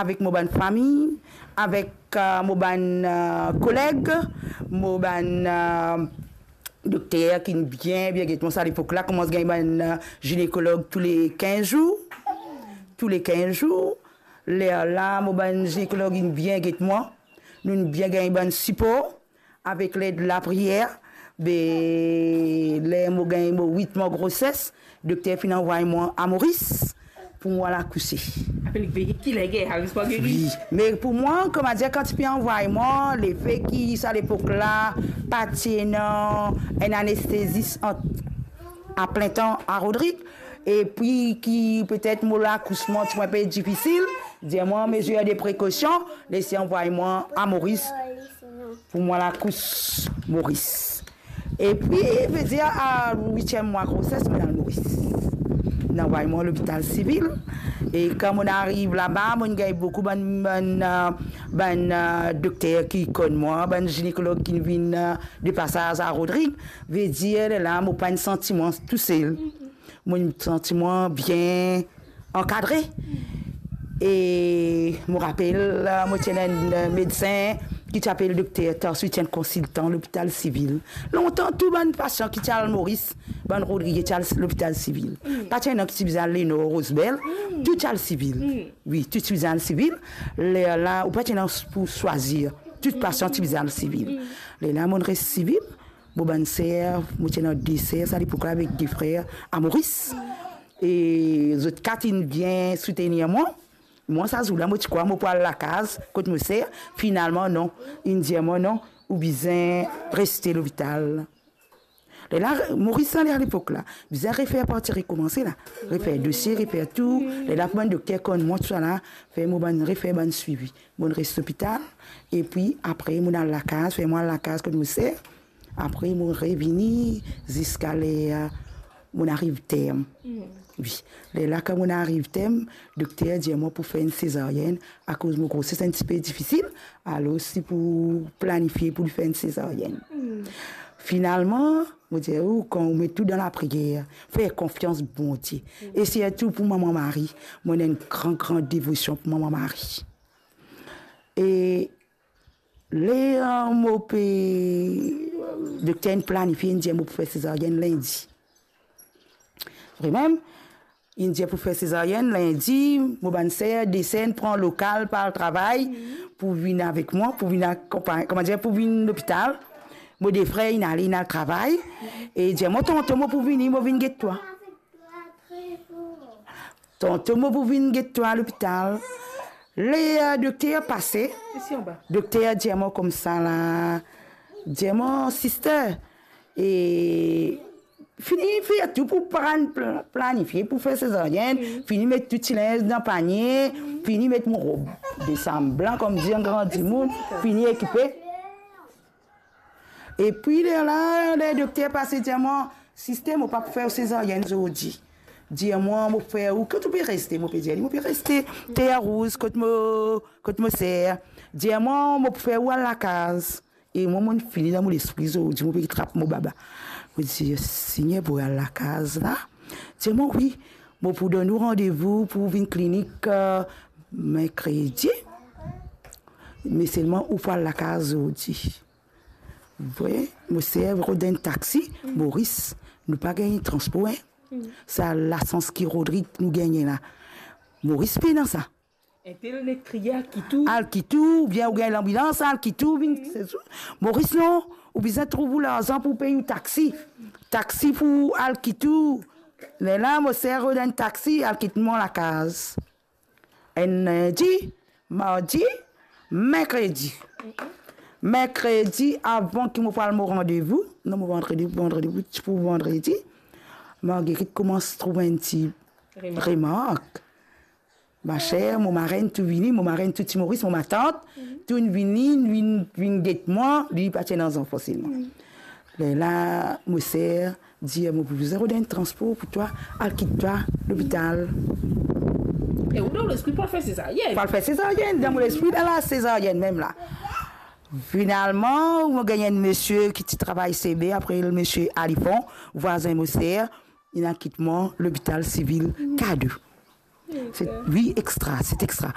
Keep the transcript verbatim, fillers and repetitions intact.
avek mo bann fami, avek, eh, mo bann, eh, koleg, mo bann, eh, dokter ki bien, bien get mwa sa lepok la, koumans gagn bann, eh, ginekolog tou le kinz zour. Tou le kinz zour. Lerla, mo bann ginekolog inn bien get mwa. Nou'nn bien gagn bann sipor. Avek led lapriyer, be, ler mo gagn mo wit mwa groses, dokter finn anvway mwa a Moris pou mo al akouse. Apel veye ki lege, al, zis pou geri. Wi, me pou mwa, kouma dir, kan ti pe anvway mwa, lefe ki sa lepok la, pa ti ena enn anestezis an, a plin tan a Rodrig, epi ki petet mo lakousman ti pou inpe difisil, dir mwa, mezir de prekosion, les anvway mwa a Moris pou mwa lakous Moris. Epi, vedir, a witiem mwa groses, mo al Moris. Inn anvway mwa lopital sivil. E kan mo ariv laba, mo gagn boukou bann, bann, eh, bann, eh, dokter ki konn mwa, bann ginekolog ki vinn, eh, de pasaz a Rodrig. Vedir, lerla, mo pa'nn santi mwa tousel. Mo santi mwa bien ankadre. E mo rapel, eh, mo ti ena enn, eh, medsin ki ti apel dokter Tarsu, ti enn konsiltan lopital sivil. Lontan, tou bann pasian ki ti al Moris, bann Rodrige ti al lopital sivil. Mm. Pa ti ena ki ti bizin al Lenor, Rosebel, mm, tou ti al sivil. Mm. Wi, tou ti bizin al sivil. Lerla, ou pa ti ena pou swazir. Tou pasian ti bizin al sivil. Mm. Lerla, mo res sivil. Mo bann ser, mo ti ena de ser, sa lepok la, avek de frer a Moris. E zot kat inn bien soutenir mwa. Mwa, sa zour la, mo ti krwar mo pou al lakaz kot mo ser. Finalman, non. Inn dir mwa, non, ou bizin reste lopital. Lerla, Moris la, lerla lepok la, bizin refer parti rekoumanse la. Refer dosie, refer tou. Lerla pou bann dokter konn mwa, tousala, fer mo bann, refer bann swivi. Mo res lopital, epi apre, mo al lakaz, fer mo al lakaz kot mo ser. Apre, mo revini ziska ler mo ariv term. Mm. Wi. Lerla, kan mo ariv term, dokter dir mwa pou fer enn sezaryenn, akoz mo groses enn tipe difisil, alor si pou planifie pou li fer enn sezaryenn. Mm. Finalman, mo dir ou, kan ou met tou dan lapriyer, fer konfians Bondie. Mm. E sirtou pou Mama Mari, mo ena enn gran, gran devosion pou Mama Mari. E ler mo pe, dokter inn planifie, inn dir mo pou fer sezaryenn lindi. Vremem, inn dir pou fer sezaryenn lindi, mo bann ser, de ser, inn pran lokal, pa al travay, pou vinn avek mwa, pou vinn akonpagn-, kouma dir, pou vinn lopital. Mo de frer, inn ale, inn al travay. E dir mwa, tanto mo pou vini, mo vinn get twa. Tanto mo pou vinn get twa lopital. Ler dokter pase, dokter dir mwa koumsa la, dir mwa, sister, e fini fer tou pou plan-, plan-, planifie pou fer sezaryenn, fini met tou ti linz dan panie, fini met mo rob de sam blan, kouma dir, gran dimoun, fini ekipe. Epi lerla, ler dokter pase dir mwa, sister, mo pa pou fer ou sezaryenn zordi. Dir mwa, mo pou fer ou, kot ou pe reste? Mo pe dir li, mo pe reste Terre Rouge, kot mo, kot mo ser. Dir mwa, mo pou fer ou al lakaz. E mwa, mo fini dan mo lespri zordi, mo pe trap mo baba. Mo dir, Segner, pou al lakaz la. Dir mwa, wi, mo pou donn ou randevou pou vinn klinik, eh, merkredi. Me selman, ou pou al lakaz zordi. Vre, mo ser rod enn taxi, Moris, nou pa gagn transpor, en. Sa lasans ki Rodrig nou gagne la. Moris pena sa. Entel nek kriye al kit ou. Al kit ou, oubien ou gagn lanbilans, al kit ou, vinn, se tou. Moris, non, ou bizin trouv ou larzan pou pey ou taxi. Taxi pou al kit ou. Lerla, mo ser rod enn taxi, al kit mwa lakaz. Enn lindi, mardi, merkredi. Merkredi, avan ki mo pou al mo randevou, non, mo vandredi, vandredi, pou vandredi, Marguerite koumans trouv enn ti remark. Remark. Ma ser, mo marenn tou vini, mo marenn tou ti Moris, mo matant, tou inn vini, vinn, vinn get mwa, li pa ti ena zanfan selman. Lerla, mo ser dir, mo pou bizin rod enn transpor pou twa, al kit twa lopital. E ou dan lespri pou al fer sezaryenn? Pou al fer sezaryenn, dan mo lespri, dan la sezaryenn mem la. Finalman, mo gagn enn misie ki ti travay C B, apre misie Alifon, vwazin mo ser, inn al kit mwa lopital sivil K de. Se, wi, extra, se extra.